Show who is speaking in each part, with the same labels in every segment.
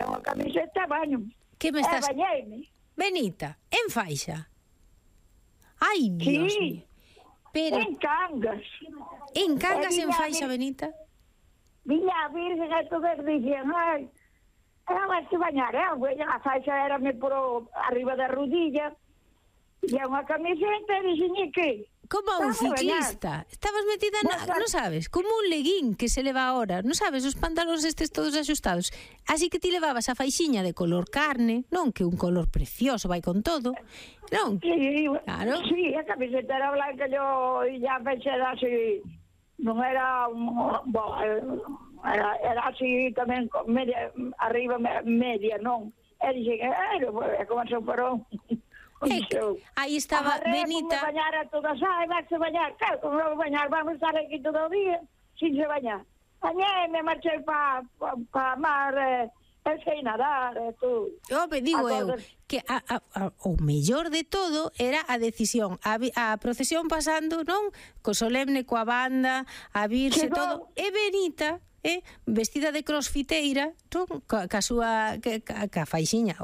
Speaker 1: unha camiseta, baño.
Speaker 2: Que me estás...
Speaker 1: bañeime.
Speaker 2: Benita, en faixa. Ai, Dios mío. Pero
Speaker 1: En Cangas.
Speaker 2: en Cangas en faixa, Benita?
Speaker 1: Viña a Virgen e todos dicían, ai, vas te bañar, a faixa érame por arriba da rodilla, e unha camiseta, e dixen, que?
Speaker 2: Como un ciclista. Estabas metida non sabes, como un leguín que se leva ahora. Non sabes, os pantalóns estes todos axustados. Así que ti levabas a faixiña de color carne, non que un color precioso vai con todo. Non?
Speaker 1: Sí,
Speaker 2: claro.
Speaker 1: Sí, a camiseta era blanca, yo e a faixa era así, non era era así tamén media, arriba media, non? E dixen, como se parou.
Speaker 2: Aí estaba Benita.
Speaker 1: Como bañar a todas, vas a bañar, claro, como vou bañar, vamos estar aquí todo o día, sin se bañar. Bañei, marchei para mar, sei nadar, todo.
Speaker 2: Digo eu, que o mellor de todo era a decisión, a procesión pasando, non? Co solemne, coa banda, a virxe, todo, e Benita... vestida de crossfiteira, ca súa ca faixiña,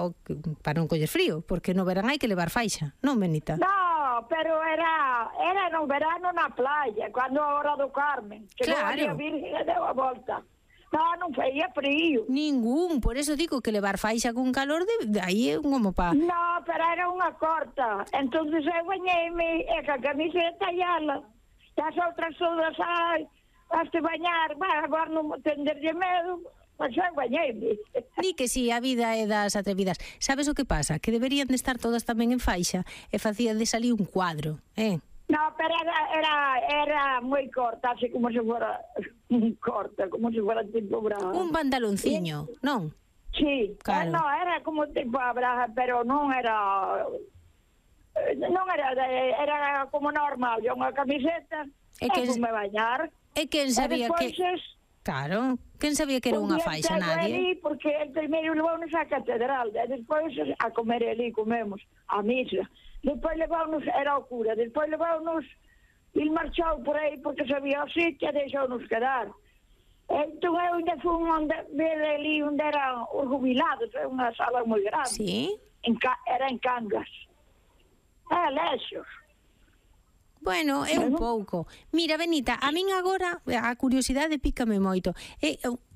Speaker 2: para non coller frío, porque no verán hai que levar faixa, non, Benita?
Speaker 1: No, pero era no verano na playa, cando a hora do Carmen, que
Speaker 2: claro.
Speaker 1: A Virgen deu a volta. Non feía frío.
Speaker 2: Ningún, por eso digo que levar faixa con calor de aí é como pa...
Speaker 1: No, pero era unha corta. Entonces eu bañeime e ca camiseta e ala. E as outras todas, vas te bañar, agora non tenderlle medo, mas eu bañeime.
Speaker 2: Di que si, a vida é das atrevidas. Sabes o que pasa? Que deberían de estar todas tamén en faixa e facía de salir un cuadro,
Speaker 1: No, pero era moi corta, así como se fora corta, como se fora tipo braga.
Speaker 2: Un pantalonciño, non?
Speaker 1: Sí,
Speaker 2: claro.
Speaker 1: No, era como tipo a braga, pero non era como normal, yo unha camiseta, e me bañar.
Speaker 2: E quen sabía que... Claro, quen sabía que era unha faixa, nadie?
Speaker 1: Porque el primeiro levounos á catedral, e despois a comer ali, comemos, a misa. Despois levounos, era o cura, despois levounos, il marchou por aí porque sabía o sitio e deixounos quedar. Entón eu ainda fui ali onde eran os jubilados, unha sala moi grande.
Speaker 2: Sí?
Speaker 1: Era en Cangas. Lexos.
Speaker 2: Bueno, é un pouco. Mira, Benita, a min agora a curiosidade pícame moito.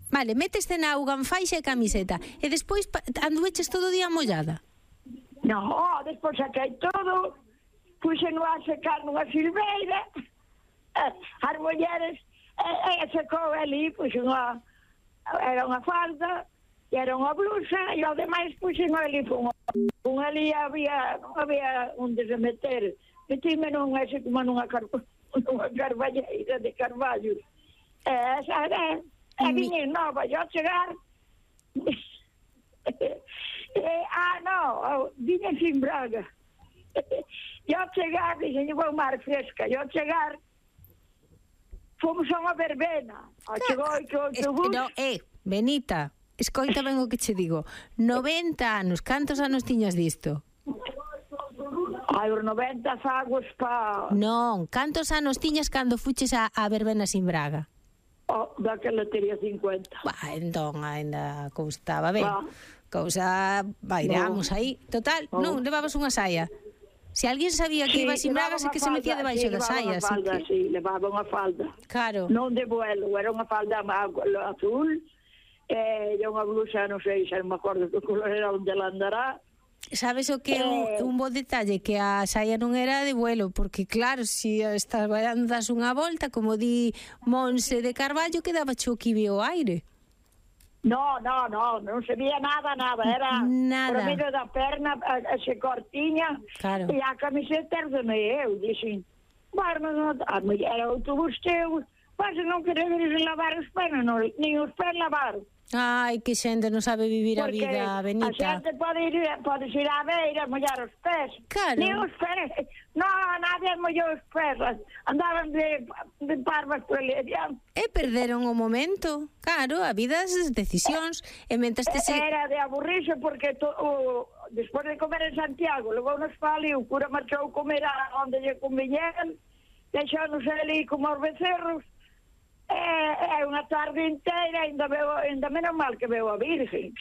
Speaker 2: Vale, meteste na auga en faixa e camiseta e despois andueches todo o día mollada.
Speaker 1: No, despois saquei todo, puxeno a secar nunha silveira, as mulleres, secou ali, era unha falda, era unha blusa, e o demais puxeno ali, non había onde se meter. Metime como nunha carballeira de carballos. Esa era, viñe nova, eu chegar... viñe sin braga. Eu chegar, dixen, vou mar fresca, eu chegar, fomos a unha verbena. Chegou que o autobús...
Speaker 2: Benita, escoita ben o que che digo. 90 anos, cantos anos tiñas disto?
Speaker 1: Os 90 fagos
Speaker 2: Non, cantos anos tiñas cando fuches a verbena sin braga?
Speaker 1: Daquela teria 50.
Speaker 2: Entón, ainda coustaba ben. Cousa, bairamos aí. Total, non, levabas unha saia. Se alguén sabía que iba sin bragas, é que se metía debaixo da saia.
Speaker 1: Sí, levaba unha falda.
Speaker 2: Claro.
Speaker 1: Non de vuelo, era unha falda azul, e unha blusa, non sei, xa non me acordo que color era, onde ela andará.
Speaker 2: Sabes o que é un bo detalle? Que a saia non era de vuelo, porque claro, se estás das unha volta, como di Monse de Carballo, quedaba cho que veo o aire.
Speaker 1: Non se vía nada, era por medio da perna, se cortiña,
Speaker 2: claro.
Speaker 1: E a camiseta era eu, dixen, a mulher era autobús teu, mas non queremos lavar os pés, nin os pés lavaron.
Speaker 2: Ai, que xente non sabe vivir a vida, Benita.
Speaker 1: Porque a xente pode ir á beira, mollar os pés.
Speaker 2: Claro.
Speaker 1: Ni os pés. Nadie mollou os pés. Andaban de parvas por ali adiante.
Speaker 2: E perderon o momento. Claro, a vida as decisións. E mentres
Speaker 1: era de aburrirse porque despois de comer en Santiago, levou nos pali, o cura marchou comer onde lle conviñeran, deixou-nos ali como os becerros. É unha tarde inteira, ainda menos mal que veo a Virgen.